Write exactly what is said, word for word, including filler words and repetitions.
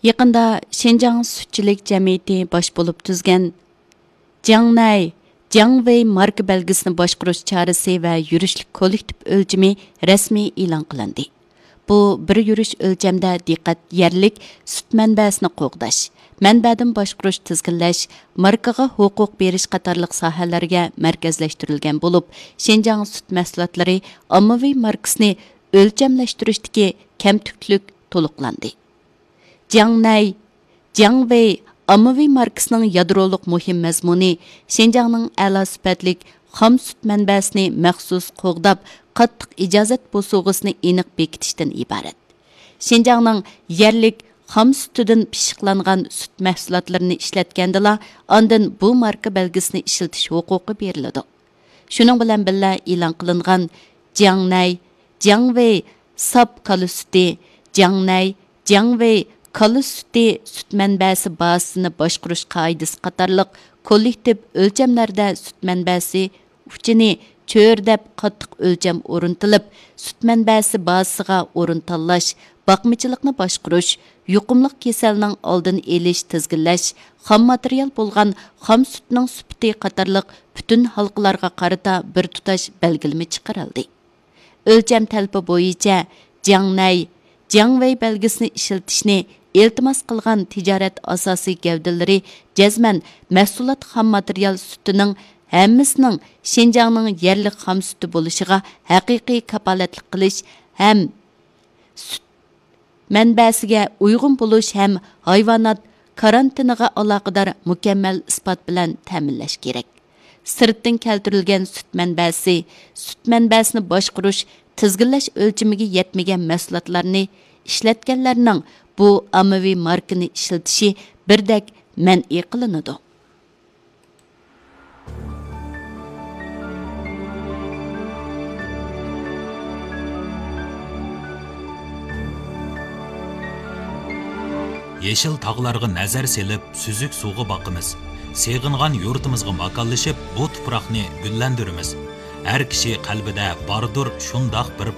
يېقىندا شىنجاڭ سۈتچىلىك جەمئىيىتى باش بولۇپ تۈزگەن جياڭنەي، جياڭۋېي ماركا بەلگىسىنى باشقۇرۇش چارىسى ۋە يۈرۈشلۈك كوللېكتىپ ئۆلچىمى رەسمىي ئېلان قىلىندى. بۇ بىر يۈرۈش ئۆلچەمدە دىققەت يەرلىك سۈت مەنبەسىنى قوغداش، مەنبەدىن باشقۇرۇش، تىزگىنلەش، ماركىغا ھوقۇق بېرىش قاتارلىق ساھەلەرگە مەركەزلەشتۈرۈلگەن بولۇپ، شىنجاڭ سۈت مەھسۇلاتلىرى ئاممىۋى ماركىسىنى ئۆلچەملەشتۈرۈشتىكى كەمتۈكلۈك تولۇقلاندى. جياڭنەي، جياڭۋېي ئاممىۋى ماركىسىنىڭ يادرولۇق مۇھىم مەزمۇنى شىنجاڭنىڭ ئەلا سۈپەتلىك خام سۈت مەنبەسىنى مەخسۇس قوغداپ، قاتتىق ئىجازەت بوسۇغىسىنى ئېنىق بېكىتىشتىن ئىبارەت. شىنجاڭنىڭ يەرلىك خام سۈتىدىن پىششىقلانغان سۈت مەھسۇلاتلىرىنى ئىشلەتكەندىلا، ئاندىن بۇ ماركا بەلگىسىنى ئىشلىتىش ھوقۇقى بېرىلىدۇ. شۇنىڭ بىلەن بىللە، ئېلان قىلىنغان جياڭنەي، جياڭۋېي ساپ كالا سۈتى، جياڭنەي، جياڭۋېي كالا سۈتى سۈت مەنبەسى بازىسىنى باشقۇرۇش قائىدىسى قاتارلىق كوللېكتىپ ئۆلچەملەردە سۈت مەنبەسى ئۇچىنى چۆرىدەپ قاتتىق ئۆلچەم ئورنىتىلىپ، سۈت مەنبەسى بازىسىغا ئورۇن تاللاش، باقمىچىلىقنى باشقۇرۇش، يۇقۇملۇق كېسەلنىڭ ئالدىنى ئېلىش، تىزگىنلەش، خام ماتېرىيال بولغان خام سۈتنىڭ سۈپىتى قاتارلىق پۈتۈن ھالقىلارغا قارىتا بىر تۇتاش بەلگىلىمە چىقىرىلدى. ئۆلچەم تەلىپى بويىچە جياڭنەي، جياڭۋېي بەلگىسىنى ئىشلىتىشنى ئىلتىماس قىلغان تىجارەت ئاساسىي گەۋدىلىرى جەزمەن مەھسۇلات خام ماتېرىيال سۈتىنىڭ ھەممىسىنىڭ شىنجاڭنىڭ يەرلىك خام سۈتى بولۇشىغا ھەقىقىي كاپالەتلىك قىلىش ھەم سۈت مەنبەسىگە ئۇيغۇن بولۇش ھەم ھايۋانات كارانتىنىغا ئالاقىدار مۇكەممەل ئىسپات بىلەن تەمىنلەش كېرەك. سىرتتىن كەلتۈرۈلگەن سۈت مەنبەسى، سۈت مەنبەسىنى باشقۇرۇش، تىزگىنلەش ئۆلچىمىگە يەتمىگەن مەھسۇلاتلارنى ئىشلەتكەنلەرنىڭ بۇ ئاممىۋى ماركىنى ئىشلىتىشى بىردەك مەنئى قىلىنىدۇ. يېشىل تاغلارغا نەزەر سېلىپ، سۈزۈك سۇغا باقىمىز. سېغىنغان يۇرتىمىزغا ماكانلىشىپ، بۇ تۇپراقنى گۈللەندۈرىمىز. ھەر كىشى قەلبىدە باردۇر شۇنداق بىر